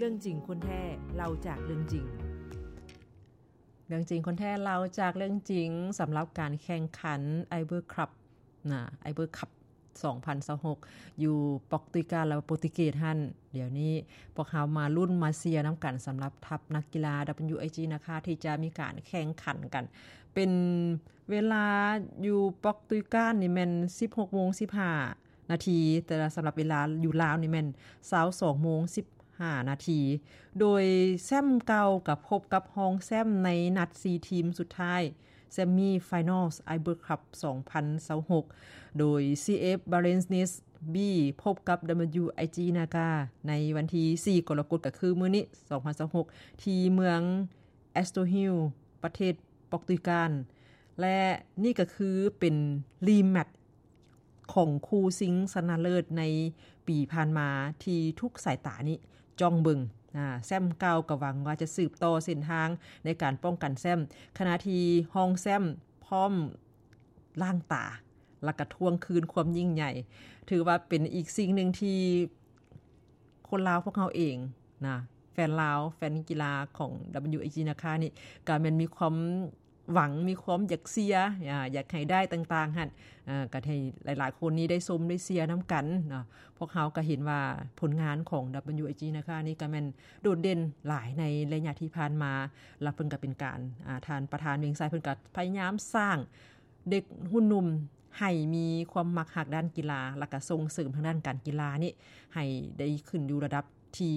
ເລື່ອງຈິງຄົນແທ້ ເລົ່າຈາກເລື່ອງຈິງ. ເລື່ອງຈິງຄົນແທ້ ເລົ່າຈາກເລື່ອງຈິງ. ສຳລັບການແຂ່ງຂັນ Iber Cup ນະ Iber Cup ສອງພັນຊາວຫົກ ຢູ່ປອກຕຸຍການ ແລະ ໂປຣຕຸເກດຫັ້ນ, ດຽວນີ້ພວກເຮົາມາລຸ້ນມາເຊຍນຳກັນ ສຳລັບທັບນັກກິລາ WIG ນາຄາ ທີ່ຈະມີການແຂ່ງຂັນກັນ. ເປັນເວລາຢູ່ປອກຕຸຍການນີ້ແມ່ນ ສິບຫົກໂມງສິບຫ້ານາທີ, ແຕ່ສຳລັບເວລາຢູ່ລາວນີ້ແມ່ນ ຊາວສອງໂມງສິບຫ້ານາທີ, ໂດຍແຊ້ມເກົ່າກໍພົບກັບຮອງແຊ້ມໃນນັດສີ່ທີມສຸດທ້າຍ Semi Finals Iber Cup ສອງພັນຊາວຫົກ ໂດຍ CF Belenenses B ພົບກັບ WIG ນາຄາ ໃນວັນທີສີ່ ກໍລະກົດ ກໍຄືມື້ນີ້ ສອງພັນຊາວຫົກ ທີ່ເມືອງ Estoril ປະເທດປອກຕຸຍການ ແລະ ນີ້ກໍຄືເປັນ rematch ຂອງຄູ່ຊິງຊະນະເລີດໃນປີຜ່ານມາ ທີ່ທຸກສາຍຕານີ້ຈ້ອງເບິ່ງ. ອາ ແຊ້ມເກົ່າກໍຫວັງວ່າຈະສືບຕໍ່ເສັ້ນທາງໃນການປ້ອງກັນແຊ້ມ, ຂະນະທີ່ຮອງແຊ້ມພ້ອມລ້າງຕາ ແລ້ວກໍທວງຄືນຄວາມຍິ່ງໃຫຍ່. ຖືວ່າເປັນອີກສິ່ງໜຶ່ງທີ່ຄົນລາວພວກເຮົາເອງນະ, ແຟນລາວ ແຟນກິລາຂອງ WIG ນາຄານີ້ ກໍແມ່ນມີຄວາມ ຫວັງ ມີຄວາມຢາກເຊຍ ອາ ຢາກໃຫ້ໄດ້ຕ່າງໆຫັ້ນ ອາ ກໍໃຫ້ຫຼາຍໆຄົນນີ້ໄດ້ຊົມໄດ້ເຊຍນຳກັນເນາະ. ພວກເຮົາກໍເຫັນວ່າຜົນງານຂອງ WIG ນາຄານີ້ກໍແມ່ນໂດດເດັ່ນຫຼາຍໃນໄລຍະທີ່ຜ່ານມາ, ແລ້ວເພິ່ນກໍເປັນການ ອາ ທ່ານປະທານວຽງໄຊ ເພິ່ນກໍພະຍາຍາມສ້າງເດັກຮຸ່ນໜຸ່ມໃຫ້ມີຄວາມມັກຮັກດ້ານກິລາ ແລ້ວກໍສົ່ງເສີມທາງດ້ານການກິລານີ້ໃຫ້ໄດ້ຂຶ້ນຢູ່ລະດັບ ທີ່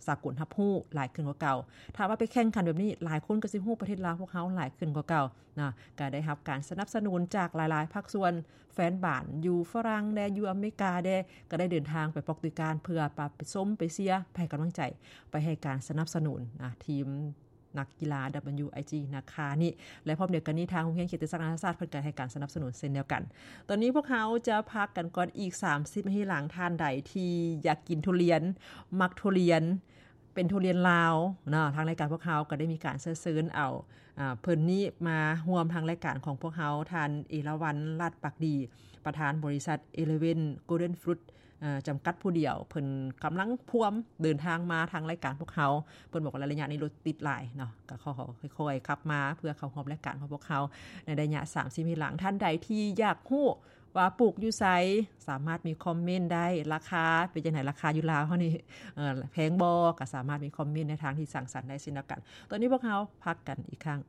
ສາກົນຮັບຮູ້ຫຼາຍຂຶ້ນກວ່າເກົ່າ. ຖ້າວ່າໄປແຂ່ງຂັນແບບນີ້ ຫຼາຍຄົນກໍຊິຮູ້ປະເທດລາວພວກເຮົາຫຼາຍຂຶ້ນກວ່າເກົ່ານະ, ກໍໄດ້ຮັບການສະໜັບສະໜູນຈາກຫຼາຍໆພາກສ່ວນ, ແຟນບານຢູ່ຝຣັ່ງແດ່ ຢູ່ອາເມລິກາແດ່ ກໍໄດ້ເດີນທາງໄປປອກຕຸຍການ ເພື່ອໄປຊົມ ໄປເຊຍ ໄປໃຫ້ກຳລັງໃຈ ໄປໃຫ້ການສະໜັບສະໜູນນະ ທີມ ນັກກິລາ WIG ນາຄານີ້ ແລະ ພ້ອມດຽວກັນນີ້ ທາງໂຮງຮຽນເຂດຕິສາກນານາຊາດ ເພິ່ນກໍໃຫ້ການສະໜັບສະໜູນເຊັ່ນດຽວກັນ. ຕອນນີ້ພວກເຮົາຈະພັກກັນກ່ອນອີກສາມສິບນາທີ. ຫຼັງທ່ານໃດທີ່ຢາກກິນທຸລຽນ ມັກທຸລຽນ ເປັນທຸລຽນລາວເນາະ, ທາງລາຍການພວກເຮົາກໍໄດ້ມີການເຊີນເອົາ ອາ ເພິ່ນນີ້ມາຮ່ວມທາງລາຍການຂອງພວກເຮົາ, ທ່ານ ເອລາວັນ ລາດປາກດີ ປະທານບໍລິສັດ Eleven Golden Fruit ເອີ ຈຳກັດຜູ້ດຽວ ເພິ່ນກຳລັງພວມເດີນທາງມາທາງລາຍການພວກເຮົາ. ເພິ່ນບອກວ່າໄລຍະນີ້ລົດຕິດຫຼາຍເນາະ, ກໍຂໍຄ່ອຍໆຂັບມາເພື່ອເຂົ້າຮ່ວມລາຍການຂອງພວກເຮົາໃນໄລຍະສາມສິບນາທີຫຼັງ. ທ່ານໃດທີ່ຢາກຮູ້ວ່າປູກຢູ່ໃສ, ສາມາດມີຄອມເມັນໄດ້, ລາຄາເປັນຈັ່ງໃດ, ລາຄາຢູ່ລາວເຮົານີ້ ເອີ ແພງບໍ່, ກໍສາມາດມີຄອມເມັນໃນທາງທີ່ສ້າງສັນໄດ້ເຊັ່ນດຽວກັນ. ຕອນນີ້ພວກເຮົາພັກກັນອີກຄັ້ງ.